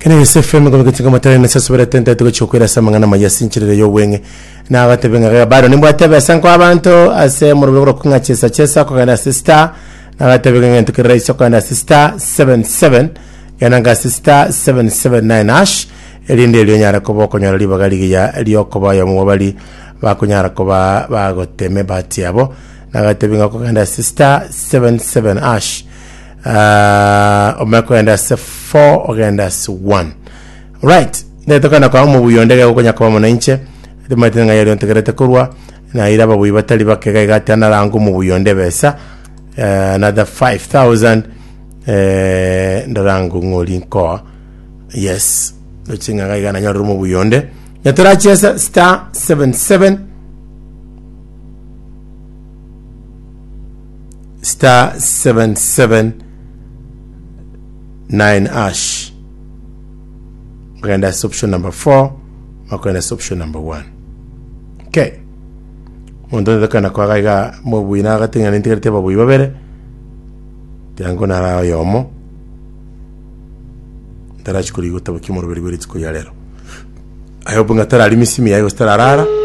Kene gese FM gobe gotinga matara na sasa bere tente tugo chokwera ase amang'ana maya ase enchera y'obweng'e. Nagatebe ng'a bado nimbwate ebesa nkoa abanto ase omorobio bwa kong'a chesa chesa kogenda ase star nagatebe ng'a egento kere rahisi okogenda ase star 77 genda nga ase star 779 hash erinde erio onyare koba okonyora ribaga rigiya riokoba oyomo bwa bari bakonyara koba bagotema ebahati yabo nagatebe ng'a okogenda ase star 77 hash Ah, omanye kogenda ase 4 ogenda ase 1 right ndete kogenda kwa omobuya onde iga gokonya koba mono inche timanyete ng'a yari ontegerete korwa naira ababuyi batari bake iga iga ati narange omobuya onde ebesa eh, another 5000 eh, ndarange ng'ori nkoa yes ndoche ng'a iga iga nanyorire omobuya onde nyatorachesa star 77 star 779 hash ogenda ase option number 4 makogenda ase option number 1 okay omonto onde tokenda koaga iga mobui nagate ng'a nintigarete ababui babere tiango nara oyomo ntarachi korigia gotabokia omoroberi bwe rituko ria rero I hope ng'a tarari misimi yaye gose tararara.